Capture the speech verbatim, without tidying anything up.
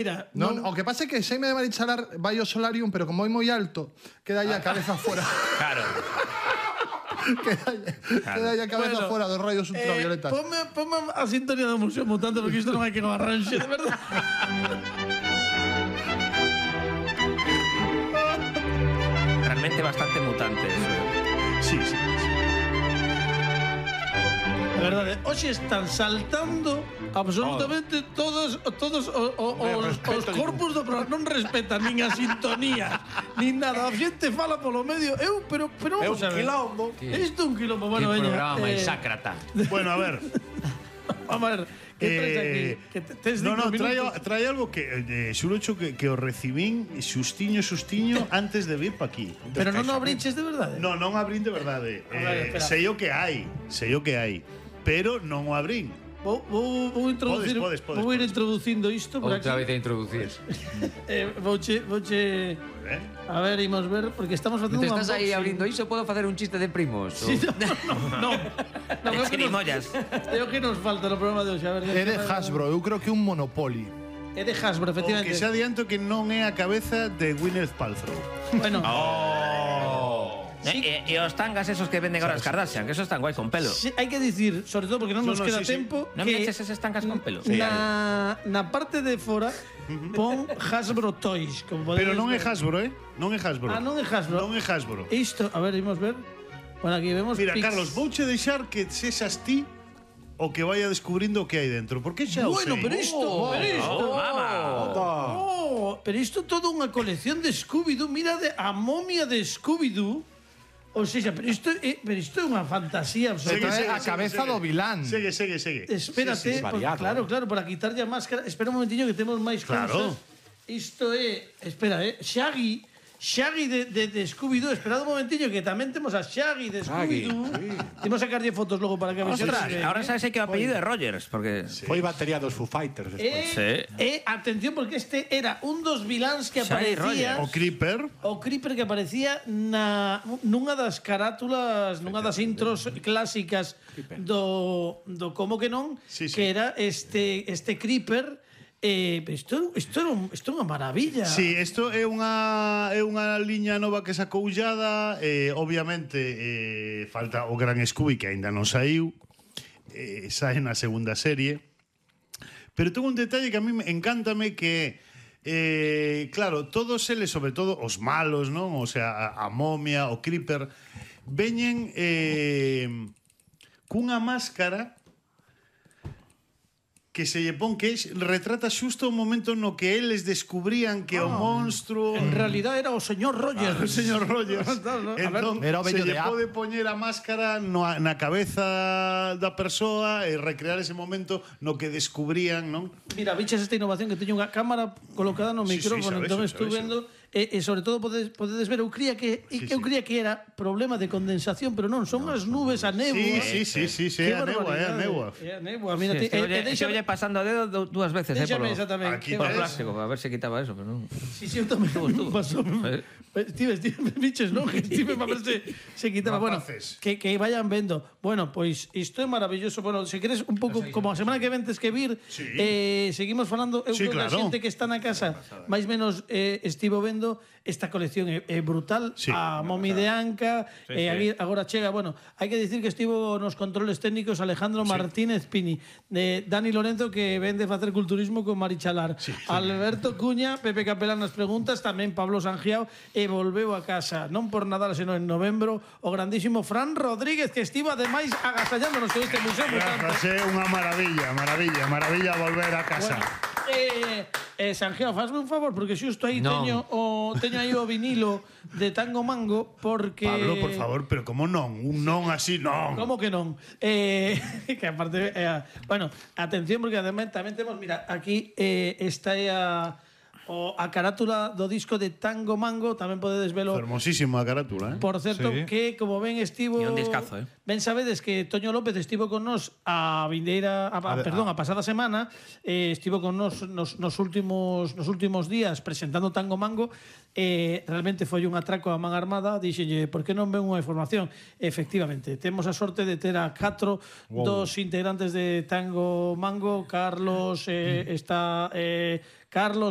Mira, non, non... o que pasa é que Xaime de Marichalar vai ao solarium, pero como é moi alto, queda aí a cabeza fora. Claro. queda, aí, claro. queda aí a cabeza bueno, fora dos rayos ultravioletas. Eh, ponme, ponme a sintonía do Museo Mutante, porque isto non hai que no arranxe, de verdade. Realmente bastante mutante eso. Sí, sí. De verdade, hoxe están saltando absolutamente oh. todos todos o, o, os, os corpus do programa. Non respetan nin a sintonía, nin nada. A xente fala polo medio. Eu, pero, pero vamos a ver. É un quilombo. Isto é un quilombo. Bueno, que veña. programa máis eh... sácrata. Bueno, a ver. Vamos a ver. Que traes aquí? Eh, que tes no, no, trae, trae algo que eh, xurocho que, que o recibín xustiño, xustiño antes de vir pa aquí. Pero non o abrinches de verdade? No, non abrín de verdade. Eh, sei o que hai, sei o que hai, pero non o abrín. Vou, vou, vou introducir, podes, podes, podes, vou ir podes. introducindo isto por Outra aquí. vez a introducir. eh, vouche, vouche ¿Eh? A ver, imos ver, porque estamos facendo un unboxing. Estás aí abrindo iso, podo facer un chiste de primos? Sí, no, no, no. no, no Chirimoyas. É o que nos falta no programa de hoxe. A ver, É de Hasbro, eu creo que un Monopoly. É de Hasbro, efectivamente. O que se adianto que non é a cabeza de Gwyneth Paltrow. Bueno. Oh. Sí. E, e os tangas esos que venden agora as Kardashian, que esos están guai con pelo. Sí, hai que dicir, sobre todo porque non nos no, no, queda sí, tempo, sí. Non me que eches esas tangas con pelo. Sí, na, na parte de fora pon Hasbro Toys, como Pero non é ver. Hasbro, eh? Non é Hasbro. Ah, non é Hasbro. Non é Hasbro. Isto, a ver, imos ver. Bueno, aquí vemos Mira, pics. Carlos, vouche deixar que sexas ti o que vaya descubrindo o que hai dentro, porque xa o Bueno, sei. pero isto, Oh, pero isto. oh, mama. Oh, pero isto todo unha colección de Scooby-Doo, mira de a momia de Scooby-Doo. O sea, pero isto é, pero isto é unha fantasía Se absoluta. trae a cabeza do vilán. Segue, segue, segue. Espérate, Sí, sí, por, claro, claro, para quitarlle a máscara. Espera un momentinho que temos máis Claro. cousas. Isto é, espera, eh, Shaggy, Shaggy de, de, de Scooby-Doo. Esperad un momentinho que tamén temos a Shaggy de Scooby-Doo. Sí. Temos a sacarlle fotos logo para que vexades. Ostras, que- ahora sabes que o apellido é Rogers, porque... Sí. Foi batería dos Foo Fighters despois. Eh, Sí. eh, atención, porque este era un dos viláns que Shaggy aparecía... O Creeper. O Creeper que aparecía na nunha das carátulas, nunha das intros clásicas do, do como que non, Sí, sí. que era este este Creeper. Eh, isto, isto, era un, isto é unha maravilla. Sí, isto é unha é unha liña nova que sacou Ullada, eh, obviamente eh, falta o Gran Scooby que aínda non saiu, eh, sae na segunda serie. Pero ten un detalle que a mí me encántame que eh, claro, todos eles, sobre todo os malos, non? O sea, a, a momia, o Creeper, veñen eh, cunha máscara que se lle pon que retrata xusto o momento no que eles descubrían que ah, o monstruo En realidad era o señor Rogers. ah, o señor Rogers. No, no, a ver, Entón, era o se vello lle de A. pode poñer a máscara no, na cabeza da persoa e recrear ese momento no que descubrían, non? Mira, bichas esta innovación que teño unha cámara colocada no Sí, sí, micrófono, xa entón vexo, estou xa vendo e, e sobre todo podedes, podedes ver, eu cría que Sí, e que eu sí. cría que era problema de condensación, pero non, son as nubes, a néboa. Sí, sí, sí, sí, Qué é a néboa, é a barbaridade. néboa. É a néboa, mírate. Este E, olle, e este déxame, olle pasando o dedo du- dúas veces, eh, déxame polo, esa tamén. Aquí Que polo ves. va- plástico, a ver se quitaba eso, pero non. Sí, sí, eu tamén Estuvo, estuvo. pasou. Eh. Estive, estive, biches, non? Que estive para ver se, se quitaba. Bueno, Rapaces. que, que vayan vendo. Bueno, pois isto é maravilloso. Bueno, se queres un pouco, como a semana que ventes que vir, Sí. eh, seguimos falando. Eu Sí, creo que claro. a xente que está na casa, máis menos eh, estivo vendo esta colección é, é brutal. Sí. A Momi de Anca, Sí, eh, sí. aquí agora chega. Bueno, hai que dicir que estivo nos controles técnicos Alejandro Martínez Pini, de Dani Lorenzo, que vende facer culturismo con Marichalar. Sí. Alberto Cuña, Pepe Capelán nas preguntas, tamén Pablo Sangiao, e volveu a casa, non por Nadal, senón en novembro, o grandísimo Fran Rodríguez, que estivo ademais agasallándonos en este museo. Grazas, é unha maravilla, maravilla, maravilla volver a casa. Bueno, eh, eh, Sangiao, fasme un favor, porque xusto aí Non. teño o teño aí o vinilo de Tango Mango, porque Pablo, por favor, pero como non? Un non así, non. ¿Cómo que non? Eh, que aparte, eh, bueno, atención, porque además tamén temos, mira, aquí eh, esta é a o a carátula do disco de Tango Mango, tamén podedes velo. Hermosísima a carátula, eh? Por certo, Sí. que como ben estivo... E un discazo, eh? Ben sabedes que Toño López estivo con nos a vindeira, a, a, A- perdón, a- a pasada semana, eh, estivo con nos nos, nos últimos nos últimos días presentando Tango Mango, eh, realmente foi un atraco a man armada, dixenlle, por que non ven unha información? Efectivamente, temos a sorte de ter a catro Wow. dos integrantes de Tango Mango, Carlos, eh, está eh, Carlos